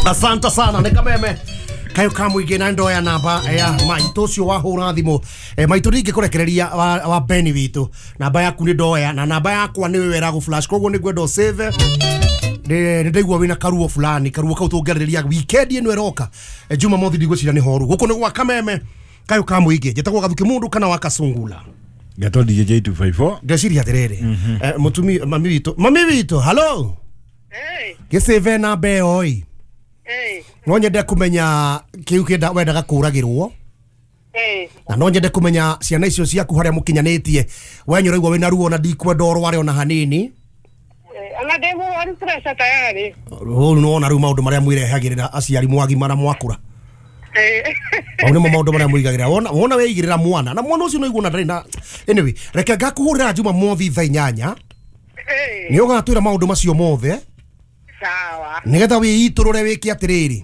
Asante sana nĩ kameme kayo ka mũingĩ na ndoya namba ya maitũ ũcio wahũra thimũ. Maitũ ndingĩkũrekereria wa Beni witũ, namba yaku nĩ ndoya na namba yakwa nĩ wĩra gũ flash, koguo nĩ ngwenda ũsave. Nĩ ndaigua wĩna karuo fulani, karuo kau tũngĩarĩrĩria weekend ĩno ĩroka. Jumamothi ndigwĩciria nĩ horu. Gũkũ nĩ gwa kameme kayo ka mũingĩ, njĩtagwo Gathuki Mũndũ kana wa Kasungula. Ngetwo DJ 254. Ndeciria atĩrĩrĩ, mũtumi mami witũ, mami witũ, hello. Gĩcĩve namba ĩyo ĩ. No nyende kũmenya kĩu kĩenda wendaga kũragĩrwo, na no nyende kũmenya ciana icio ciaku harĩa mũkinyanĩtie. We nĩ ũraigua wĩna ruo na ndikwenda ũrware ona hanini. Ona ndĩ mũrwaru pressure tayari. Rĩu nĩwona rĩu maũndũ marĩa mwĩrehagĩrĩra aciari mwagimara mwakũra. Mau nĩmo maũndũ marĩa mwĩigagĩrĩra. Wona weigĩrĩra mwana na mwana ũcio no igua ndarĩ na anyway, reke ngakũhũrĩra Jumamothi thaa 8. Nĩ ũgatwĩra maũndũ macio mothe. Sawa. Nĩgetha wĩitũrũre wĩke atĩrĩrĩ,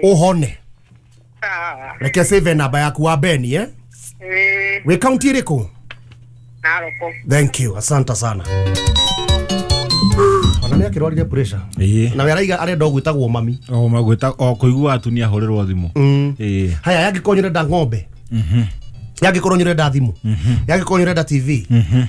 ũhone. Sawa. Reke save namba yaku wa Beni, eh? Wĩ kaunti ĩrĩkũ? Narok. Thank you, asante sana. Ona nĩ akĩrwarire pressure. Ĩĩ. Na we araiga arenda gwĩtagwo mami. O magwĩta o kũigua atumia ahũrĩrwo thimũ. Ĩĩ. Haya, yangĩkorwo nĩ ũrenda ng'ombe, yangĩkorwo nĩ ũrenda thimũ, yangĩkorwo nĩ ũrenda TV,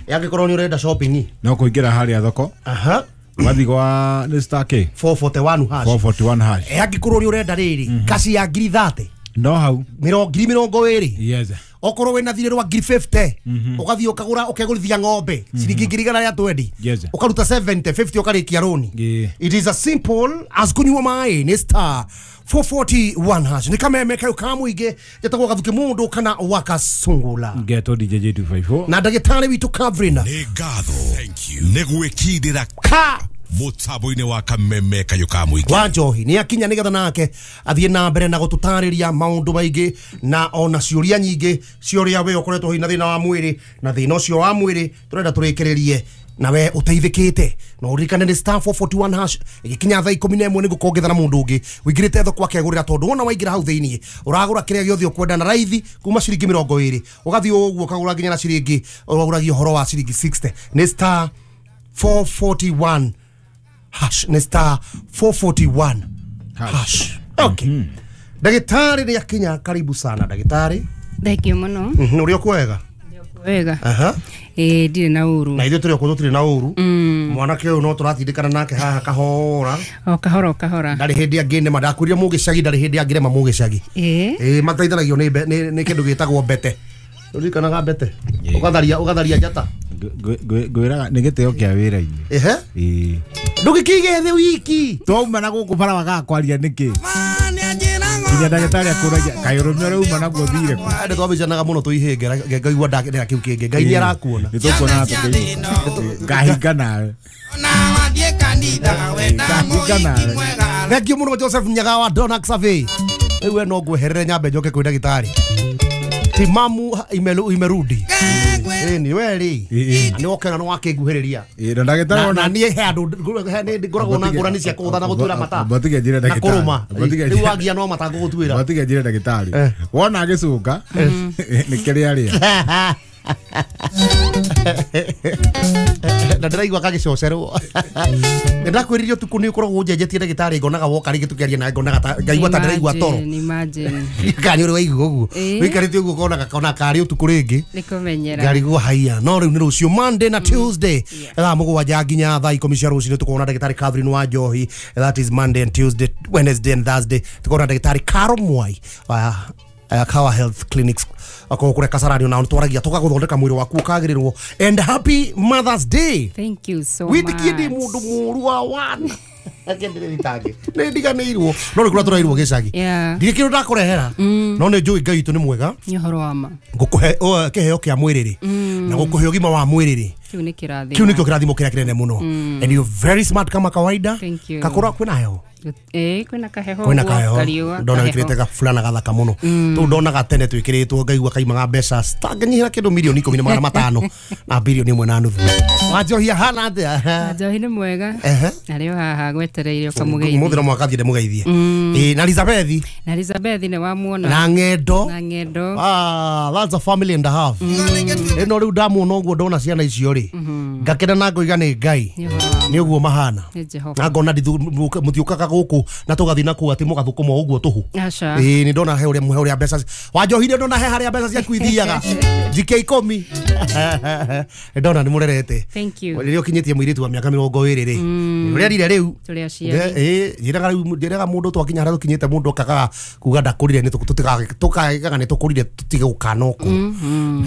yangĩkorwo nĩ ũrenda shopping, No kũingĩra harĩa thoko. Aha. Wathi gwa nĩ star K 441 hash. 441 hash. Yangĩkorwo nĩ ũrenda rĩrĩ kaci ya ngiri 30, No hau. ngiri 20. Yes. Okorwo wĩna thirĩ rwa ngiri 50, ũgathiĩ ũkagũra ũkegũrithia ng'ombe ciringi ngiri 120, Yes. ũkaruta 70 50 ũkarĩkia rũni. Yeah. It is as simple as kunyua maĩ. Nĩ star 441 hash. Nĩ kameme kayo ka mũingĩ, njĩtagwo Gathuki Mũndũ kana wa Kasungula. Ngetwo DJ 254. Na ndagĩtarĩ witũ Catherine. Nĩ ngatho nĩ gwĩkindĩra ka mũtambo-inĩ wa kameme kayo ka mũingĩ wa njohi nĩ akinya nĩgetha nake athiĩ na mbere na gũtũtarĩria maũndũ maingĩ na ona ciũria nyingĩ cia ũrĩa we ũkoretwo wĩna thĩna wa mwĩrĩ, na thĩna ũcio wa mwĩrĩ tũrenda tũrĩkĩrĩrie na we ũteithĩkĩte. Na ũririkane nĩ star 441 hash. Ĩgĩkinya thaa 11 nĩ ngũkorwo ngĩethana mũndũ ũngĩ ũingĩrĩte thoko akegũrĩra, tondũ wona waingĩra hau thĩiniĩ ũragũra kĩrĩa gĩothe ũkwenda na raithi kuma ciringi 20 ũgathiĩ ũguo ũkagũra nginya na ciringi ũragũragia ũhoro wa ciringi 60. Nĩ star 441 hash. Nĩ star 441 hash. Okay. Ndagĩtarĩ nĩ akinya, karibu sana ndagĩtarĩ. Thank you mũno. Ũrĩ o kwega? Wega. Aha. Ĩĩ, ndirĩ na ũru. Na ithuĩ tũrĩ o kũ tũtirĩ na ũru. Mwanake ũyũ no tũratindĩkana nake haha kahora. O kahora o kahora. Ndarĩ hĩndĩ angĩnema, ndakwĩrire mũgĩcagi ndarĩ hĩndĩ angĩrema mũgĩcagi. Ĩĩ. Ĩĩ, mateithanagio nĩ kĩndũ gĩtagwo mbete. Ũririkanaga mbete? Ũgatharia njata. Ngwĩraga nĩ gĩtĩo kĩa wĩra-inĩ. Ehe. Ĩĩ. Ndũgĩkĩige thĩ wiki. Twauma na gũkũ bara wagaga kwaria nĩkĩ? Nginya ndagĩtarĩ akũragia kaĩ ũrũme ũrĩa uma naguo ũthire kũ? Nĩ twabicanaga mũno tũihĩnge, ngaigua ndakĩrĩa kĩu kĩngĩ. Ngai nĩ arakuona. Nĩ tũkuonana tũkĩigua. Ngahinga nawe. Ngahinga nawe. Thank you mũno Joseph Nyaga wa Donax Survey. Rĩu we no ngweherere nyambe njoke kwĩ ndagĩtarĩ. Timamu imerudi. Ĩni we rĩ. Nĩ wokena nĩ wakĩnguhĩrĩria. Ĩĩ, na ndagĩtarĩ Na niĩ he andũ ngoragwo na ngũrani cia kũgũtha na gũtuĩra mata. Mbatige njĩre Na ndagĩtarĩ. kũrũma. Rĩu wagia no mata ngũgũtuĩra. Mbatige njĩre ndagĩtarĩ. Wona agĩcũnga nĩ kĩrĩa arĩa. Na ndĩraigua gagĩcocerwo. Nĩ ndakwĩrire ũtukũ nĩ ũkoragwo ũnjenjetie ndagĩtarĩ, ngonaga woka rĩngĩ tũkĩaria nawe ngonaga ta ngaigua ta ndĩraigua toro. Imagine. Kana nĩ ũrĩ waigua ũguo. Ĩĩ. Wĩikarĩte ũguo ũkonaga kona karĩ ũtukũ rĩngĩ. Nĩ kũmenyera. Ngarigwo haiya. No rĩu nĩ rũciũ Monday na Tuesday thaa 7 nginya thaa 10 cia rũcinĩ tũkona ndagĩtarĩ Catherine wa Njohi. That is Monday and Tuesday, Wednesday and Thursday tũkona ndagĩtarĩ Caro Mwai wa Kawa Health Clinics akorwo kũrĩa Kasarani, ona twaragia tũgagũthondeka mwĩrĩ waku ũkagĩrĩrwo. And happy Mother's Day. Thank you so much. Wĩtĩkie ndĩ mũndũ mũũru wa wana. Akĩndĩrĩritange nĩ ndiganĩirwo no nĩ kũrĩa tũrairwo gĩcagi. Yeah. Ndirĩ kĩndũ ndakũrehera no nĩ njũĩ Ngai witũ nĩ mwega. Nĩ ũhoro wa ma. Ngũkũhe kĩheo kĩa mwĩrĩ na gũkũhe ũgima wa mwĩrĩ. Kĩu nĩ kĩrathimo. Kĩu nĩkĩo kĩrathimo kĩrĩa kĩnene mũno. And you're very smart kama kawaida. Thank you. Kakũra kwĩna heho. Ĩĩ, kwĩna kaheho. Kwĩna ũguo, kaheho. kariũa, Ndona kaheho. wĩkĩrĩte gabulana gathaka mũno. Tũu ndonaga tene twĩkĩrĩtwo ngaigua kaimaga mbeca citangĩnyihĩra kĩndũ mirioni 10,500 na birioni 1.5. Wanjohia hana atĩa? Njohi nĩ mwega. Ehe. Arĩ o haha gwetereire ũkamũgeithie. Mũthĩ no mũhaka thiĩ ndĩmũgeithie. Ĩĩ, na Elizabeth Na Elizabeth nĩ wamuona. na ng'endo. Na ng'endo. Ah, that's a family and a half. Ĩno rĩu ndamuona ũguo ndona ciana icio rĩ. Ngakena na ngoiga nĩ Ngai. Nĩ ũhoro wa Nĩ ũguo mahana. Nĩ Jehova. Na ngona mũtiũkaga gũkũ na tũgathiĩ na kũu atĩ mũgathũkũma o ũguo tũhũ. Aca. Ĩĩ nĩ ndona he ũrĩa mbeca wanjohire, ndona he harĩa mbeca ciaku ithiaga njike 10. Nĩ ndona nĩ mũrerete. Thank you. Rĩrĩa ũkinyĩtie mũirĩtu wa mĩaka 20 rĩ, ũrĩa rire rĩu. Tũrĩ aciari. Ĩĩ, njĩraga rĩu, njĩraga mũndũ twakinya harĩa tũkinyĩte, mũndũ akagaga kuga ndakũrire, nĩ tũkagaga nĩ tũkũrire, tũtige gũkana ũkũrũ.